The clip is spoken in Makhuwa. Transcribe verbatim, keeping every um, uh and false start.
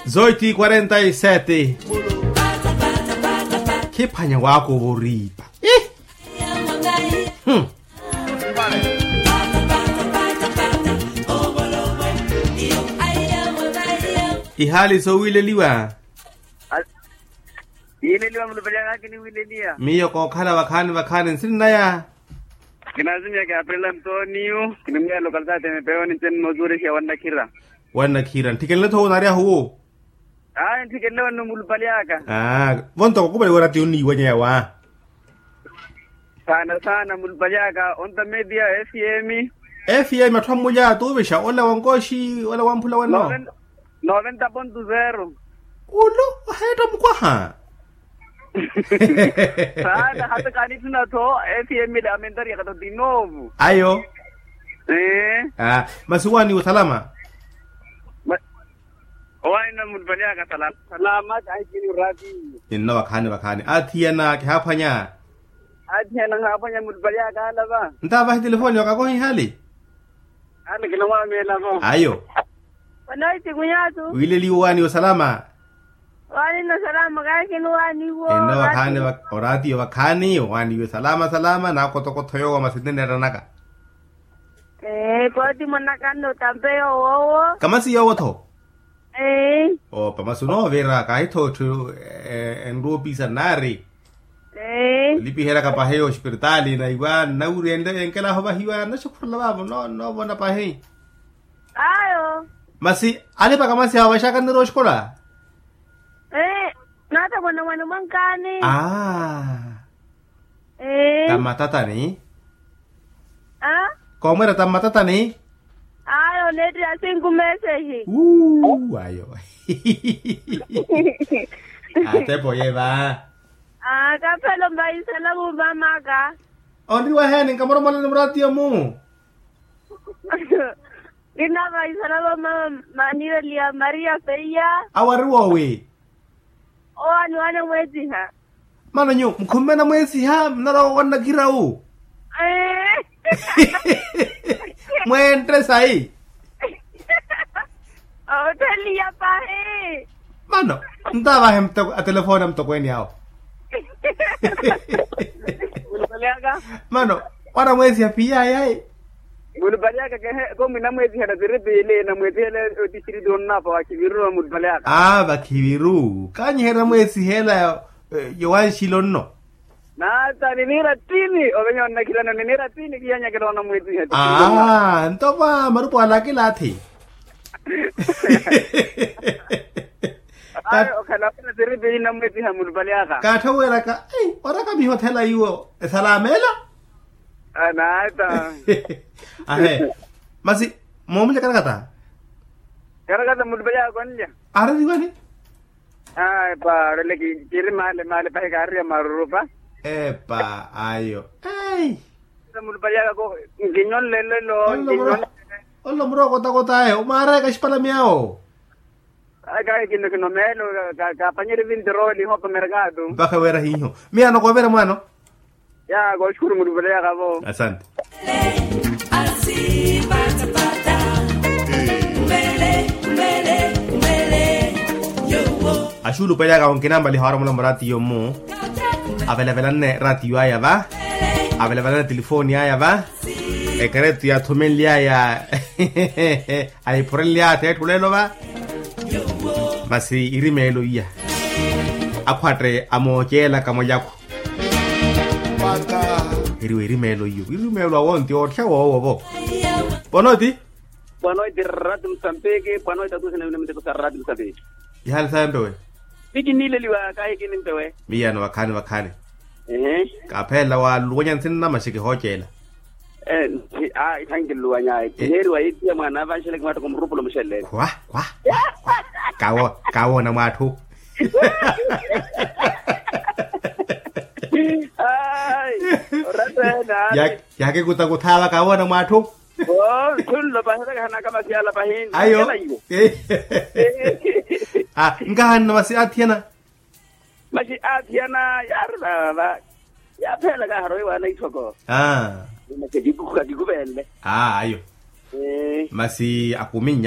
Zoiti quarenta y sete. Khiphwanya wakuva oriipa. Ih. Hmm. Ihaali sowiileliwa. Yiileliwa mulupali aka kiniwiileliya. Miyo kookhala vakhaani vakhaani nsinnaya. Kinazimiya kiaprela ntoniyu kinimwiya lokalitaati mipeyoni nceni noozuurexiya wannakhira. Wannakhira ntthikhenle-tho wu naaryahu wu. Ayi ntthikhenle wannu mulupali aka. Aa vonto kakupali werati onniiwanya yawa. Saana saana mulupali aka onta media. F m. F m atthu ammulya tuuvixa ola wa nkooxi ola wa mphula wenno. Noventa ponto zero. Ulu oheetta mukwaha. Saana hata kaanitthuna-tho. F m lamentaria kato tinovo. Ayo. Masi owaaniwa osalama. Owaanina mulupali aka salama. Salama kahikini oratiyo. Ninno vakhaani vakhaani athiyana kihaaphwanya. Athiyana nhaaphwanya mulupali aka alava. Ntaavahi telefoni wakakoha ihaali. Ayo. Wanoitikunyatu. Wiileliwa owaaniwa osalama. Owaanina osalama kahikini owaaniwo. Ninno vakhaani oratiyo vakhaani owaaniwa osalama salama naakotokotho yoowo masi ninneettanaka. Ee pooti mwanaka nno otampe yoowo. Kamasi yoowo-tho. Ee. Opa masi onoovira kahi-tho etthu enruupisa nnaari. Ee. Olipiheryaka pahi ospiritaali naiwa nnawiri enle enkelaahi ovahiwa nnaxukhurela vaavo nnoovona pahi. Ayo. Masi alipaka masi awo vaxaka nnirowa oxikola. Ee. Naatavona mwana mwankaani. Aa. Ee. Tammatatani. Aa. Koomwira tammatatani. Ayo neettira sinku mesehi. Ayo. Atepo ye va. Aa kaphelo mvaisela vumva maka. Onriwa heeni nkamoromolani muratiyo mu. Kinavaisala va mama manireliya maria feiya. Awo ari woowi. Owaani waana mweesiha. Mano nyu mukhumme na mweesiha mnarwa wannakira wu. Mwentte sayi. Otheliya pahi. Mano ntaavahe atelefoni a mutokweeni awo. Mano wanamweesiha piyayayi. Mulupali aka kehe komi namweesihela tiri piili namweesihela. Otisiriti onnapa wakhiviru mulupali aka. Aa vakhiviru kanyiherya mweesihela. Yowanxilo nno. Naata niniira ttini ovenya onnakhilana niniira ttini kiyanyakela onamweesiha. Aa nto va marupu ala akilaathi. Ayo okhala wira tiri piili namweesiha mulupali aka. Kaatthoweraka. Orakamiha othela iwo esalameela. Anaata. Ahe. Masi moomulya karakata. Karakata mulupali aka onlya. Aareriwani. Epa oreleki kiri maale maale pahi kaareriya marurupa. Epa ayo. Ei. Mulupali aka ko nkinyonlelelo. Nkinyonlelelo. Onlo murookotakota ayo omwaarayaka axipalami awo. Ayi kahi kino kino meelo. Kaapanyerye vinti rooli hoopa merkaatu. Mpakha weera hiiho miyaano koovera mwaano. Ya kooxukuru mulupali aka vo. Asante. Axuulupali aka onkinambaliha waaromola muratiyo mmu. Avelavelanne ratiyo aya va. Avelavelanne tilifooni aya va. Ekeretu yaathumenly'aya. Ahiphurenly'aya atheetthu leelo va. Masi irimeelo iya. Akhwatte amooceelaka mwalyakhu. Iriwe irimeelo iyo irimeelo awo nti ootthya woowo vo. Pwanoiti. Pwanoiti rati musambiki pwanoiti atuuhina yuna miteko sa rati musambiki. Ihaali sawe mpewe. Ti kinileliwa kahi kinimpewe. Miyano vakhaani vakhaani. Ehe. Kaaphelela waluwanya nsinna maxeke hooceela. Ee. Aa ithankiluwany'aya kiheeriwa yiittiya mwaana avanxeleke mwaattoka murupulo muxelleeni. Khwa khwa. Kawoona mwaatthu. Ayi. Oratta ene aari. Yaakikuta kuthaava kawoona mwaatthu. Oo nthunlo pahi otakahana kamasiyala pahi. Ayo. Nkahanna masi aathiyana. Masi aathiyana yaari vava. Yaapheela kaharowe waana itthoko. Aa. Masi akikuvenle. Aa ayo. Masi akuminnya.